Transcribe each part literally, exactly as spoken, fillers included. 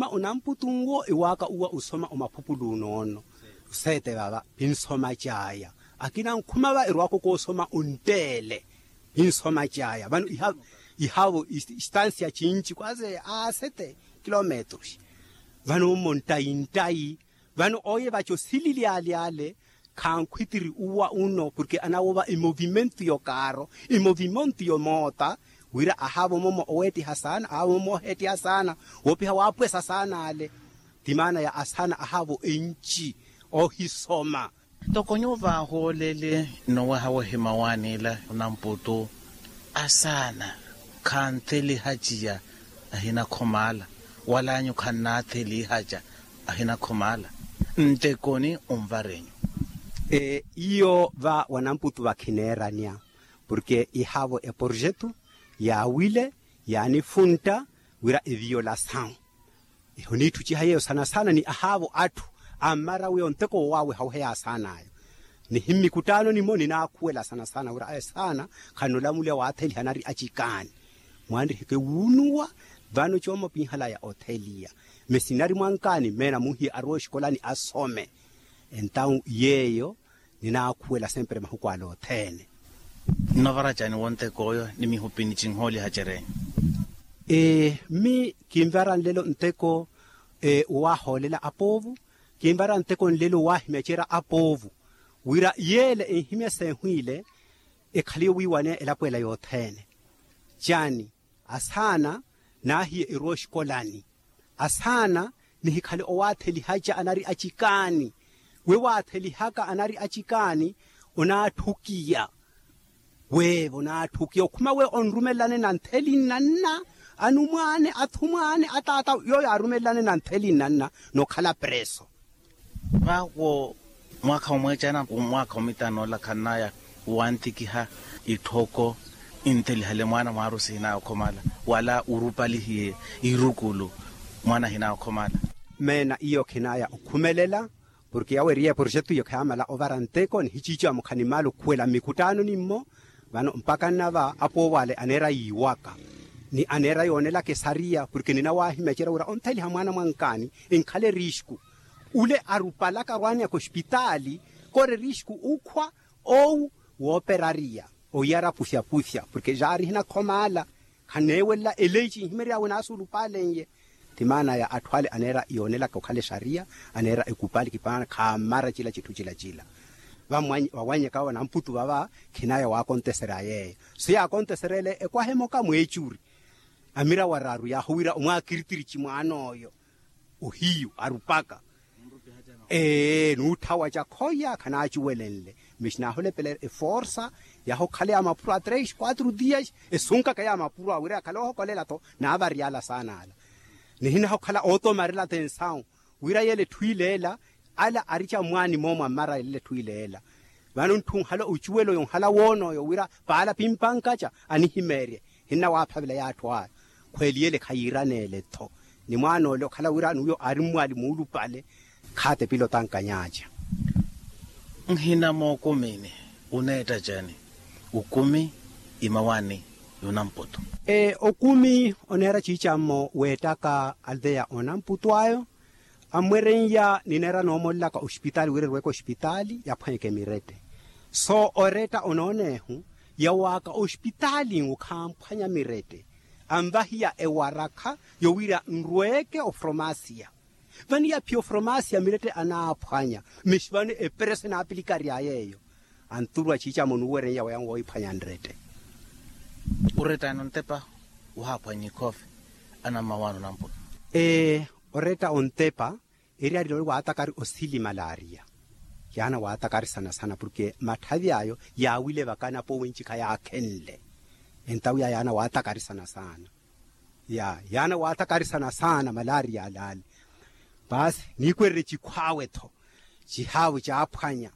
Onamputu nwo ewaaka uwa osoma omaphupulu onoono. Oseete vava pinsoma caya. Akina nkhuma va erwaaka okoosoma onteele. Pinsoma caya vano ihavo istansia cinci kwase a sete kilometros. Vano mmo ntayi ntayi. Vano oye vaco silili aliale. Khankhwitiri uwa uno porke anawova emovimento yokaaro, emovimento yomoota. Wira ahavo momo oweettiha saana ahavo momo oheettiha saana. Woopiha waapwesa saana ale. Ti maana ya asaana ahavo enci ohisoma. Ntoko nyuwo vaahoolele nnoweha wohima waanila onamputu. Asaana khanthelihaciya ahinakhomala wala anyu khannaathelihaca ahinakhomala. Ntekoni onvarenyu. Iyo va wanamputu vakhineeranya porke ihavo eporjetu yaawile yaanifuntta wira eviolasawu. Ehoniitthuciha yeeyo saana saana ni ahaavo atthu ammara wiya onteko wowaaweha oheya asaan'ayo. Nihimmikuttaano nimo ninaakhuwela saana saana wira asaana khannoolamuliya waatheliha anari acikaani. Mwanriheke wuunuwa vano coomo pinhalaya otheliya. Mesinari mwankaani meena munhiye arowa oxikolani asome. Entawu yeeyo ninaakhuwela sempre mahuku ale othene. Nnovara cani wonteko oyo ni mihupini cinhooliha cerenyu? Mmi kinvara nlelo nteko wowahoolela apoovu. Kinvara nteko nlelo wowahimya cera apoovu wira yeele enhimya seehwiile ekhaliye wiiwaneya elapo ela yothene. Cani asaana naahiye eruwa oxikolani. Asaana nihikhale owaathelihaca anari acikaani. We waathelihaka anari acikaani onaatthukiya. Weevo onaatthukiya okhuma we onrumelelane na ntheli nnanna anumwaane athumwaane ataata yooyo aarumelelane na ntheli nnanna. Nokhala preso. Vaawo mwaakha omweecana mwaakha omitanoola khannaya wantikiha itthoko inthelihale mwaana mwaarusi hinaaya okhomala wala urupalihiye irukulu mwaana hinaaya okhomala. Meena iyo khinaya okhumelela porke yaweeriye porjetu iyo khayaamala ovara nteko nihiciici wa mukhani maala okhuwela mmikuttaano nimmo. Vano mpaka nnava apoovo ale aneera yiiwaka ni aneera yoonelaka esariya porke ninawahimya cera wira ontheliha mwaana mwankaani enkhala erisku. Ule arupalaka arwaaneyaka ospitaali kori erisku ukhwa owu wooperariya oyara puthyaputhya porke jaari hinakhomala. Khaneewelela eleyi cinhimery'awe naasuulupaalen'ye. Ti maana ya atthu ale aneera yoonelaka okhala exariya aneera ekupali kipaana khaamara cila citthu cilacila. Vawannyaka vanamputu vava khinaya waakonteserya yeeyo. So yaakonteserya ele ekwaha emoka mweecuri. Amira waraaru yaahuwira omwaakiritiri cimwaan'oyo ohiyu arupaka. Ee nuutthawaca khoya khanaacuwelenle. Mixi naahulepelela eforsa yaahokhala ya mapuro a tres quatro dias esunkaka ya mapuro awo wira yakhale oohokolela-tho. Naavaryala saana ala nihinahokhala ootomarela-tho ensawu wira yeela etthu ileela. Ala arica mwaani moomo ammara yelela etthu ileela. Vano ntthu nhala ocuwelo yonhala woon'oyo wira paala pimpankaca anihimeerye. Hinnawaaphavela y'atthu aya khweeliyele khayiiraneele-tho. Ni mwaan'ole okhala wira n'uyo aari mmwaali muulupale khaatepile otankanyaaca. Nhina mookumini uneetta cani? Ukumi imawaani y'onamputu. Okumi oneera ciicammo weettaka aldeya onamputu ayo. Ammwereiya nineera noomolelaka ospitaali wira erweke ospitaali yaphwanyeke mirette. So oretta onoonehu yawaaka ospitaali nwo khaamphwanya mirette. Anvahiya ewarakha yowira nrweke ofromasiya. Vano yaphiya ofromasiya mirette anaaphwanya. Mixi vano epereso enaapilikarya yeeyo. Anturuwa ciicamo nuuwerenyawe yanwo wohiphwanya nrette. Oretta ene ontepa wahaaphwanya ikhoofi anammawaani onamputu. Ee oretta ontepa eriyari nole waatakari osili malaria. Yaana waatakari sana sana porke matthavi ayo yaawile vaka anapoowe ncikha yaakhenle. Entawo ya yaana waatakari sana sana. Ya yaana waatakari sana sana malaria alaali. Paasi niikwererye cikhwaawe-tho cihaavu caaphwanya.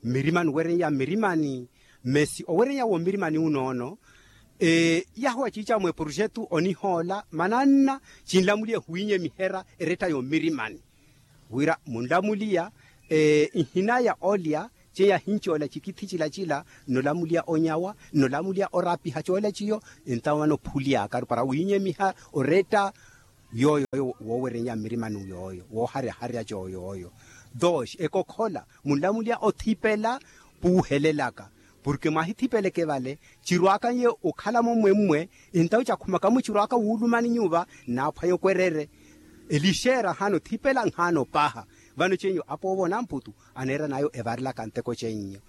Mmirimani owereya mmirimani. Mmesi owereya wommirimani unoono. Yaahuwa ciica mweprojetu onihoola mananna cinlamuliye huwiinyemihera eretta yommirimani. Wira munlamuliya nhinaya olya ceya hincoola cikithi cila cila nnolamuliya onyawa nnolamuliya orapiha coola ciyo. Entawo vano phulyaka arupara wiinyemiha oretta. Yooyo woowerennya mmirimani yooyo wooharyaharyaca oyooyo. Dooxi ekokhola munlamulya othipela puuhelelaka. Porke mwahithipeleke vale cirwaka nyo okhala mommwemmwe. Entawu cakhumaka-mo cirwaka wuulumani nyuva nnaaphwanya okwerere. Elixeera nhaana othipela nhaana opaha. Vano cenyu apoovo namputu aneeran'ayo evarelaka nteko cennyo.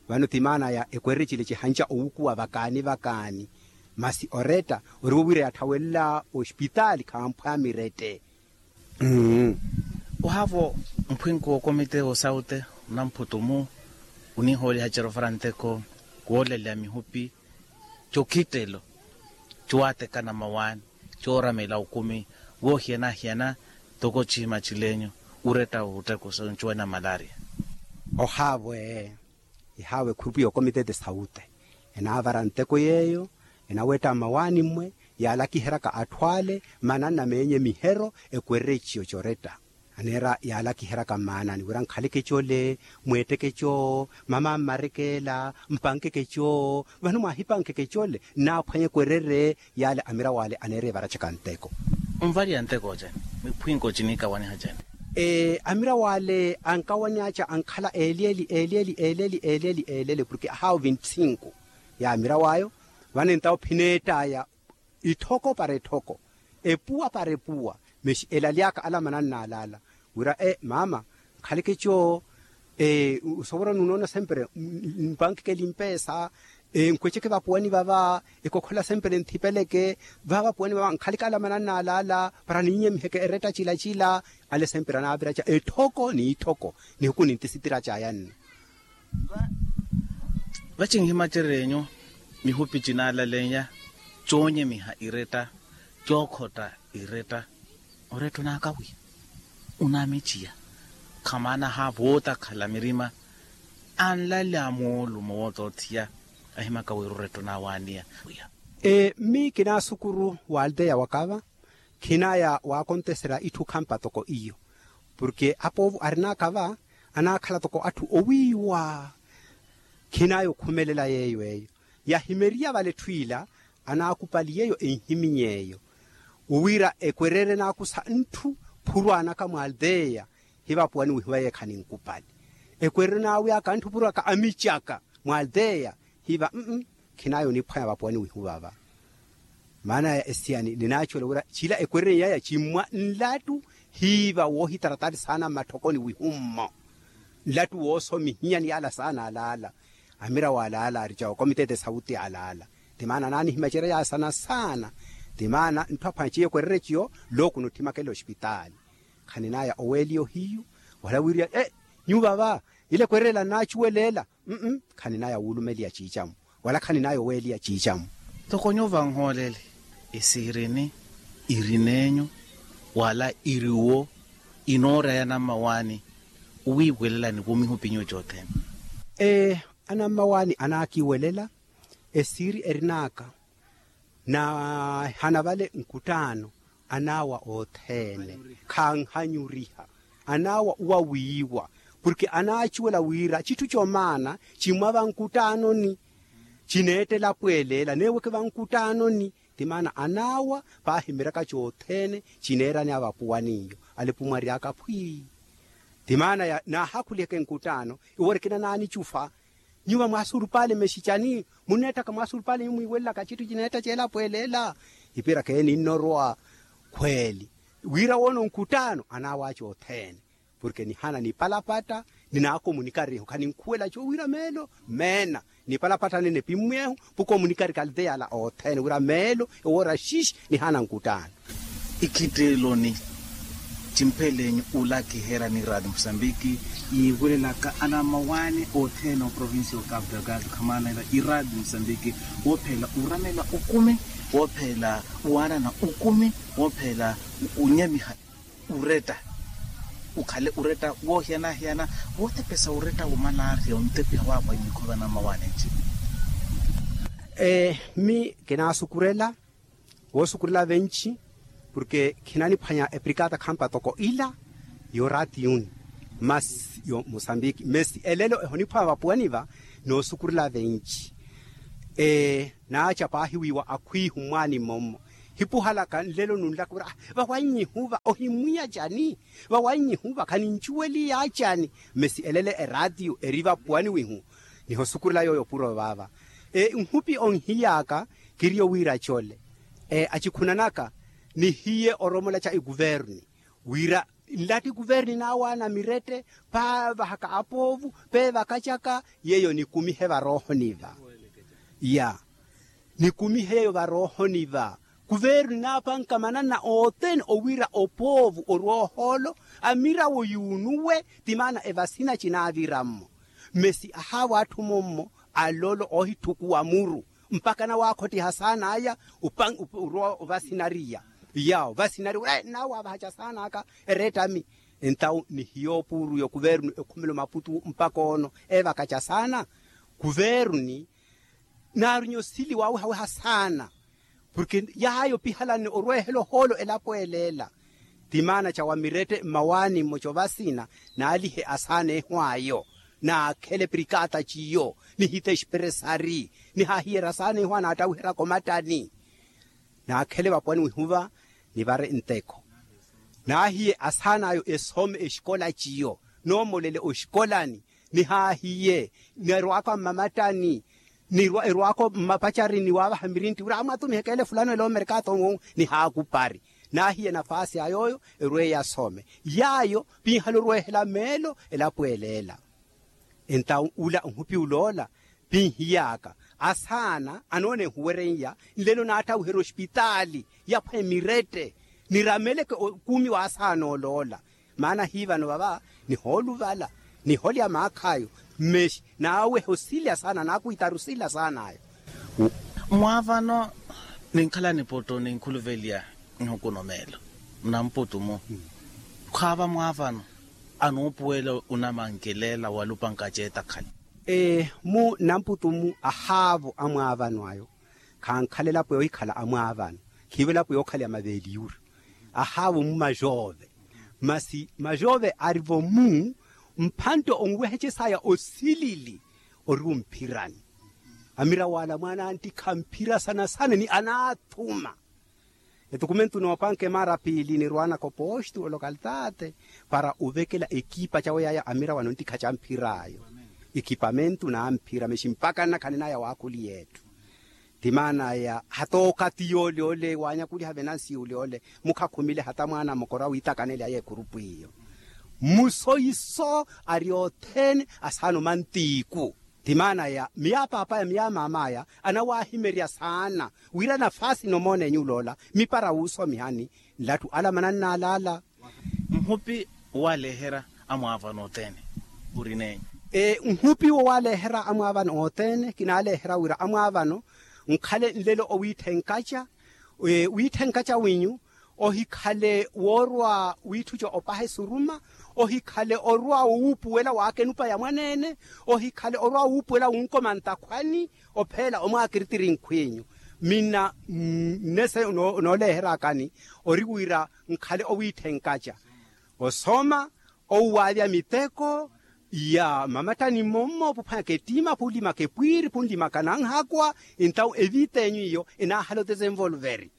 Vano ti maana ya ekwerere cile cihanca owukuwa vakaani vakaani. Masi oretta orivo wira yatthawelela ospitaali khamphwa mirette. Mmm. Ohaavo mphwinko okomite osaute onamphutumu onihooliha cerofara nteko woolaleya mihupi cokittelo cowatekana mawaani cooramela okumi woohiyana-hiyana toko ciima cilenyu uretta otteko soncuwanya malaria. Ohaavo ee. Ihaawe khurupu yookomitete saute enaavara nteko yeeyo enawetta mmawaani mmwe yaalakiheryaka atthu ale mananna meenye mihero ekwerereciyo coretta. Aneera yaalakiheryaka mmaanani wira nkhaleke cole mweetteke coo mama mmarekeela mpankeke coo. Vano mwaahipankeke cole nnaaphwanya ekwerere yaale amirawaale aneera evaracaka nteko. Onvaliya nteko ocene miphwinko cinikawaniha cene. Ee amirawaale ankawanyaaca ankhala eeleeli eeleeli eeleeli eeleeli eeleeli porke ahaawo vinti sinku ya amirawaayo. Vano entawo phineett'aya itthoko para etthoko epuwa para epuwa. Mexi elaly'aka ala mananna alaala wira e maama nkhaleke coo. Osovora nunoona sempre mpankeke limpeesa enkweceke vapuwani vava ekokhola sempre nthipeleke vava vapuwani vava nkhaleke ala mananna alaala para ninyemiheke eretta cila cila. Ale sempre anaaviraca etthoko n'itthoko nihuku nintisitiraca ayanne. Vacinhimacererye-nyu mihupi cinaalaleya coonyemiha iretta cookhotta iretta. Oretta onaakawiya onaamiciya khamaana haavo wootakhala mirima anlalya moolumo wootoothiya ahimaka wira oretta onaawaaniya. Mmi kinaasukuru w'alteya wakava khinaya waakonteserya itthu khampa toko iyo porke apoovo arin'aka va anaakhala toko atthu owiiwa. Khinaya okhumelela yeeyo eyo yahimeriya vale etthu ila anaakupali yeeyo enhiminyeeyo wira ekwerere naakusa ntthu phurwaanaka mw'alteya hivapuwani wihuwa yeekha ninkupali ekwerere naawi'aka ntthu phurwaaka amicaka mw'alteya hiva mm khinaya oniphwanya vapuwani wihuwa va. Maana ya esiyani ninaacuwela wira cila ekwerereni yaya cimmwa nlattu hiiva woohitaratari saana mmatthokoni wihummo nlattu woosomihinyani yaala saana alaala. Amira waalaala arica okomitete sauti alaala ti maana anaanihimacerya yaasana saana ti maana ntthu aphwanya ciyo ekwerereni ciyo. Looku nuthimakela ospitaali khaninaya oweeliya ohiyu wala wiiriya e nyuva va ila ekwererela nnaacuweleela. Khaninaya wuulumeliya ciicamu wala khaninaya oweeliya ciicamu. Toko nyuva nhoolele esihirini irin'enyu wala iriwo inoorya ya nammawaani owiiwelelani womihupinyu cothene. Ee anammawaani anaakiiwelela esiiri erin'aka naahana vale nkuttaano anaawa othene khanhanyuriha anaawa owawiiwa porke anaacuwela wira citthu comaana cimwava nkuttaanoni cineettela apweeleela neeweke va nkuttaanoni ti maana anaawa paahimeryaka cothene cineerani avapuwaniyo alepumwary'aka phwii. Ti maana naahakhuliheke nkuttaano iwo orikina naanicufa nyuva mwaasurupale mexicani munneettaka mwaasurupale nyuva mwiiwelelaka citthu cineetta ceela apweeleela. Ipiraka eyo ninnorwa khweeli wira woono nkuttaano anaawaca othene porke nihana nipalapatta ninaakomunikarihu khaninkhuwela co wira meelo meena nipalapatta nene pimmweehu pukomunikari kalite yala othene wira meelo ewoora xixi nihana nkuttaano. Ikhitteeloni cimpheleenyu ulakiherya ni raati musambiki yiiwelelaka anammawaani othene oprovincia okapu delgado khamaanela iraati musambiki woopheela uramela okumi woopheela uwaanana okumi woopheela unyamiha uretta ukhale uretta woohiyana-hiyana wootepesa uretta womalaria ontepiha waapwa imikhova nammawaani nci. Mmi kinaasukurela woosukurela venci porke khinaniphwanya eprikata khampa toko ila yoraatiyuni masi yo musambiki mesi elelo ehoniphwanya vapuwani va noosukurela venci. Ee naaca paahi wiiwa akhwiihu mmwaani mmommo Nipuhalaka nlelo nunlaka wira vawannyihuva ohimwiya cani? Vawannyihuva khanincuweliya cani? Mesi elele eratiyo eri vapuwani wihu nihosukurela yooyo puro vaava. Nhupi onhiy'aka kiriyo wira cole acikhunanaka nihiye oromola ca ekuverni wira nlati kuverni naawaana mirette paavahaka apoovu peevakacaka yeeyo nikumihe varoohoni va. Ya nikumihe yeeyo varoohoni va kuverni naapanka mananna othene owira opoovu orwa ohoolo amirawo yuunuwe ti maana evasina cinaavirammo. Mesi ahaavo atthu mummo alolo oohithukuwa muru mpakha nawakhottiha saana aya orwa ovasinariya. Yawo vasinariya wira nawaavaha ca saana aka erettami. Entawu nihiyo puuru yo kuvernu ekhumelo maputu mpakha ono eevaka ca saana kuverni naarunya osili waawehaweha saana. Porke yaayo pihalanne orweehela ohoolo elapo eleela ti maana ca wamirette mmawaani mmoca ovasina naalihe asaana ehu ayo naakhele prikata ciyo nihite expressari nihahiyerya asaana ehu anaattawiheryaka omattani. Naakhele vapuwani wihuva nivare nteko naahiye asaana ayo esome exikola ciyo noomolele oxikolani nihaahiye nerwaka mmamattani erwaka mmapacarini waavaha mirintti wira amwatumiheke ele fulano ele omerkato nwo nihaakupari. Naahiye nafaasi a yooyo erweeye asome yaayo pinhala orweehela meelo elapo eleela. Entawu ula nhupi uloola pinhiy'aka asaana anoona ehuweren'ya nlelo naattawiherya ospitaali yaphwa emirette nirameleke okumi w'asaana oloola. Maana hiivano vava nihooluvala niholya maakh'ayo mmeshi naaweha osila saana naakwiitaru sila saan'ayo. Mwaavano ninkhala niputu ninkhuluvelya nhukuno meelo namputu mu khwaava mwaavano anuupuwela onamankelela walupanka aceetakhala. Mu namputu mu ahaavo amwaavano ayo khankhala elapo yoohikhala amwaavano khiivo elapo yookhalya maveeliyuri. Ahaavo mu majoove masi majoove arivo mu mphantte onweheche saya osilili ori wumphirani. Amira wala mwaana antikha mphira sana sana ni anaathuma. Etukumentu noopanka emaara piili nirwaanaka opostu olokaltaate para ovekela ekipa cawe yaya amira wano ntikha camphir'ayo ekipamentu namphira mexi mpaka nnakhanen'aya waakhuli yeetthu. Ti maana ya hata okathi yoole ole waanyakuliha venansi yoole ole mukhakhumile hata mwaana mokora wiitakanel'aya ekhurupu iyo. Musoiso ari othene asaana omantiiku. Ti maana ya miya paapaya miya maamaya anawahimerya saana wira nafaasi nomoonenyu uloola mipara wuusomihani nlatthu ala mananna alaala. Nhupi waleehera amwaavano othene uri nenyu? Nhupi wowaleehera amwaavano othene kinaaleehera wira amwaavano nkhale nlelo owiitthenkaca wiitthenkaca winyu ohikhale woorwa wiitthuca opaha esuruma ohikhale orwa wuupuwela waaka enupa ya mwaneene ohikhale orwa wuupuwela wunkoma ntakhwani opheela omwaakiritiri nkhwinyu. Minna nnese nooleeherakani ori wira nkhale owiitthenkaca osoma owuwaavya miteko ya mamattani mmommo phuphwanyaka ettima phunlimaka epwiiri phunlimaka nanhakwa. Entawu evita enyu iyo enaahala otesenvolveri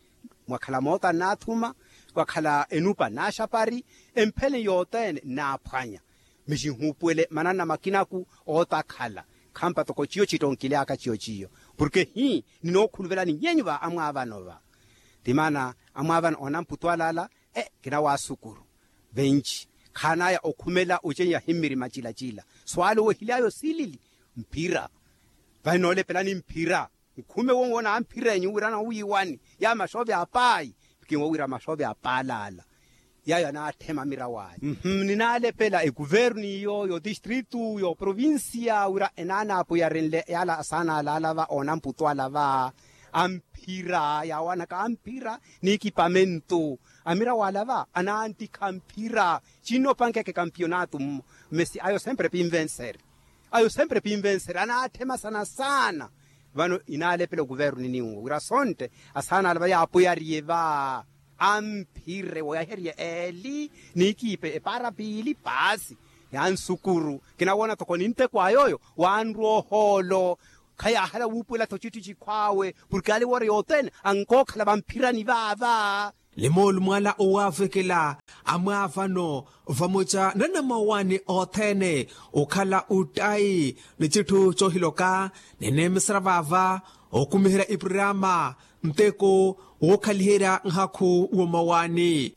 mwakhala moota nnaathuma wakhala enupa nnaaxapari emphele yothene nnaaphwanya. Mixinhuupuwele mananna makinaku ootakhala khampa toko ciyo cittonkily'aka ciyo ciyo porke hi ninookhuluvelani nyenyu va amwaavano va. Ti maana amwaavano oonamputu alaala kinawaasukuru venci khaanaya okhumela ocenyahi mmirima cilacila swaalowehilyayo silili mphira. Vano noolepelani mphira nkhume wonwo naamphir'enyu wira noowiiwani ya maxoove a paayi. Kinwo wira maxoove a paalaala yayo anaatthema miraw'aya. Ninaalepela ekuvernu iyo yotistritu yoprovincia wira enaanaapuyarenle yaala asaana alaala va oonamputu ala va amphira yaawanaka amphira n'ikipamentu. Amira wala va anaantikha mphira cinno opankeeke kampiyonatu mmo mesi ayo sempre pinvenseri. Ayo sempre pinvenseri anaatthema sana sana. Vano inaalepela okuvernu ninwo wira sontte asaana ala va yaapuyariye va amphire woyaherye eeli n'ikiipe epaara piili paasi. Yansukuru kinawoona toko ninteko a yooyo wanrwa ohoolo. Khayaahala wuupuwela-tho citti cikhw'awe purke aali wooreya othene ankookhala vamphirani vaava. Ni moolumo ala owaavekela amwaavano vamoca na namawaani othene okhala ottayi ni citthu coohiloka. Nineemesera vaava okumiherya ipurama nteko wookhaliherya nhakhu woomawaani.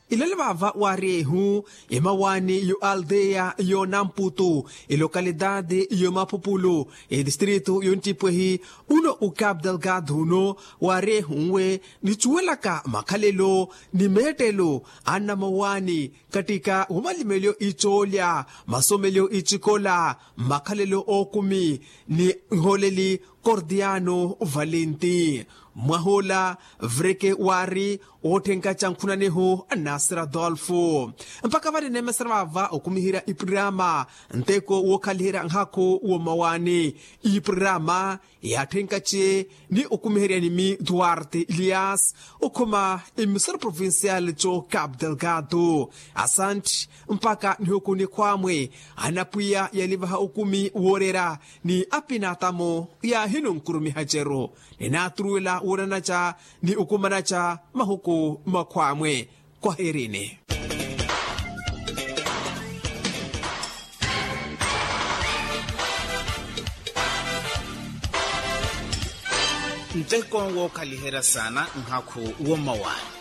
Ilelo vaava waari ehu emawaani yo aldeya yo namputu, elokalidade yo mapupulu, edistrito yo nttipwehi. Uno o capital gado uno waari ehu nwe nichuwelaka makhalelo ni meettelo a nnamawaani kattika womalimelyo icoolya, masomelyo icikola, makhalelo ookumi ni nhooleli. Kordiano valenti mwah'ola vreke waari wootthenkaca nkhunaneho a nasir adolfo. Mpakha vale neemesera vaava okumiherya ipurama nteko wookhaliherya nhakhu woomawaani. Ipurama yaatthenkace ni okumiherya nimi duarte elias okhuma emisoro provincial co capital gado. Asantti mpakha nihuku nikhwamwe anapwiya yalivaha okumi woorera ni apinatamo yaahino nkurumiha ceru. Ninaaturuwela woonanaca ni okumanaca mahuku makhwamwe. Kwaherini. Nteko wookhaliherya saana nhakhu woomawaani.